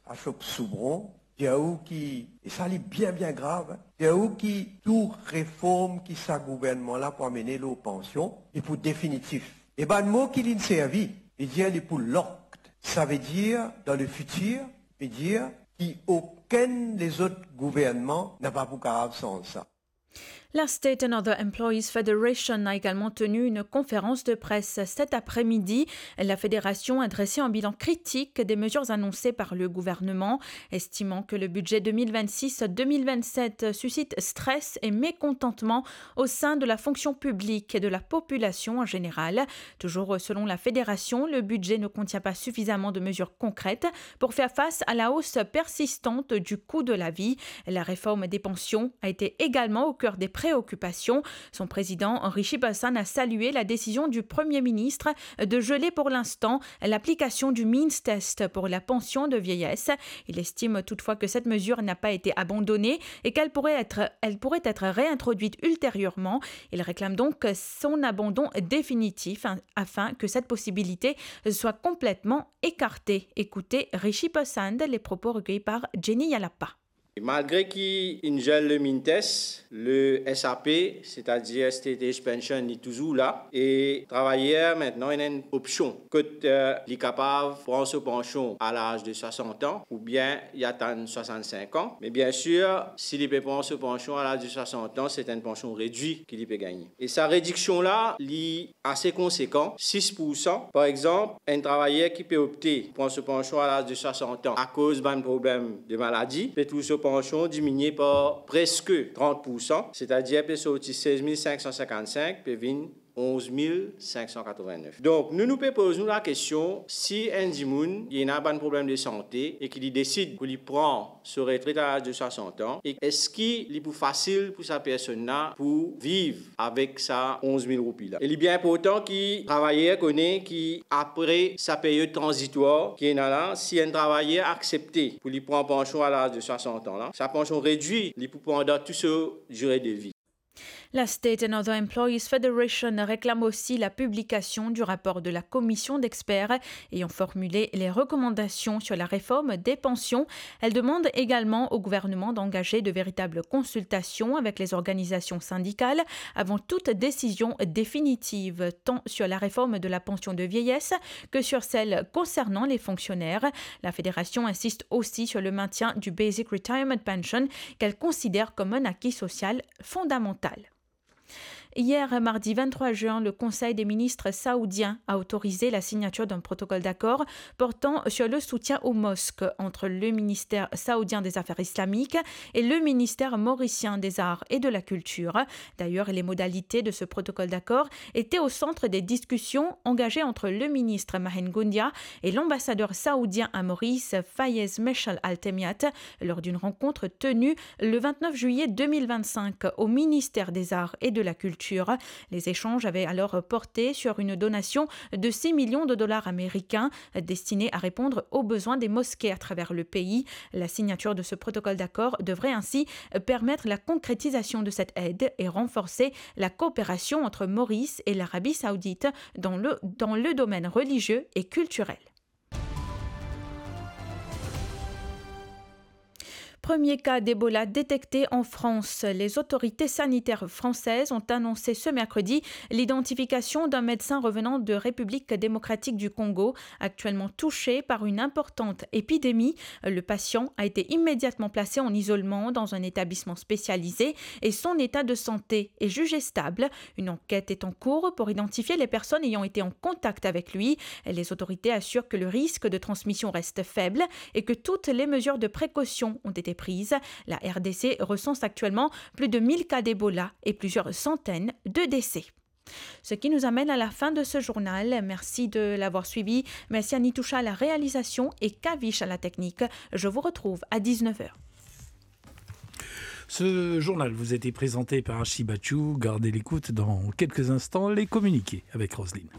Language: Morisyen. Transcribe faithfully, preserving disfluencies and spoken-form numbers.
Ashok Soubron, dir ou ki, e sa li bien, bien grav, hein, dir ou ki tou reform ki sa gouvernman la pou amene lor pansion, li pou definitif. E bann mo ki linn servi, li dir li pou locked. Savedir, dan lefitir, li dir ki okenn lezot gouvernman napa pou kapav sanz sa. La State and Other Employees Federation a également tenu une conférence de presse cet après-midi. La fédération a dressé un bilan critique des mesures annoncées par le gouvernement, estimant que le budget deux mille vingt-six deux mille vingt-sept suscite stress et mécontentement au sein de la fonction publique et de la population en général. Toujours selon la fédération, le budget ne contient pas suffisamment de mesures concrètes pour faire face à la hausse persistante du coût de la vie. La réforme des pensions a été également au cœur des préoccupations. Son président, Rishi Balsan, a salué la décision du Premier ministre de geler pour l'instant l'application du means test pour la pension de vieillesse. Il estime toutefois que cette mesure n'a pas été abandonnée et qu'elle pourrait être, elle pourrait être réintroduite ultérieurement. Il réclame donc son abandon définitif, hein, afin que cette possibilité soit complètement écartée. Écoutez Rishi Balsan, les propos recueillis par Jenny Yalapa. Malgre ki inn gel le means test, le S A P, setadir State Age Pension, li touzour la, e travayer aster ena enn opsion kot, eh, li kapav pran so pansion a laz de swasant an oubien li atann swasant-sink an. Me biensir, si li pe pran so pansion a laz de swasant an, se enn pansion redwit ki li pe gagne. E sa rediksion la, li ase konsekan, sis poursan. Par exanp, enn travayer ki pe opte pran so pansion a laz de swasant an akoz bann problem de maladi, pe trouv so pansion diminie par preske trant poursan, setadir pe sorti sez mil sink san sinkant-sink, pe vinn onz mil sink san katrovin-nef. Donk, nou, nou pe poz nou lakestion, si enn dimoun, li ena bann problem de sante e ki li desid pou li pran so retret a laz de swasant an, e eski li pou fasil pou sa personn la pou viv avek sa onz mil roupi la? E li bien inportan ki travayer kone ki apre sa period tranzitwar ki ena la, si enn travayer aksepte pou li pran pansion a laz de swasant an la, sa pansion redwit, li pou pandan tou so dire de vi. La State and Other Employees Federation réclame aussi la publication du rapport de la commission d'experts ayant formulé les recommandations sur la réforme des pensions. Elle demande également au gouvernement d'engager de véritables consultations avec les organisations syndicales avant toute décision définitive, tant sur la réforme de la pension de vieillesse que sur celle concernant les fonctionnaires. La fédération insiste aussi sur le maintien du Basic Retirement Pension, qu'elle considère comme un acquis social fondamental. Hier, mardi vingt-trois juin, le Conseil des ministres saoudien a autorisé la signature d'un protocole d'accord portant sur le soutien aux mosques entre le ministère saoudien des Affaires islamiques et le ministère mauricien des Arts et de la Culture. D'ailleurs, les modalités de ce protocole d'accord étaient au centre des discussions engagées entre le ministre Mahen Goundia et l'ambassadeur saoudien à Maurice, Fayez Mechal Al Temiat, lors d'une rencontre tenue le vingt-neuf juillet deux mille vingt-cinq au ministère des Arts et de la Culture. Les échanges avaient alors porté sur une donation de six millions de dollars américains destinée à répondre aux besoins des mosquées à travers le pays. La signature de ce protocole d'accord devrait ainsi permettre la concrétisation de cette aide et renforcer la coopération entre Maurice et l'Arabie saoudite dans le, dans le domaine religieux et culturel. Premier cas d'Ebola détecté en France. Les autorités sanitaires françaises ont annoncé ce mercredi l'identification d'un médecin revenant de République démocratique du Congo, actuellement touché par une importante épidémie. Le patient a été immédiatement placé en isolement dans un établissement spécialisé et son état de santé est jugé stable. Une enquête est en cours pour identifier les personnes ayant été en contact avec lui. Les autorités assurent que le risque de transmission reste faible et que toutes les mesures de précaution ont été prises. La R D C recense actuellement plus de mille cas d'Ebola et plusieurs centaines de décès. Ce qui nous amène à la fin de ce journal. Merci de l'avoir suivi. Merci à Nitousha à la réalisation et Kavish à la technique. Je vous retrouve à dix-neuf heures. Ce journal vous a été présenté par Archie Bachou. Gardez l'écoute, dans quelques instants, les communiqués avec Roselyne.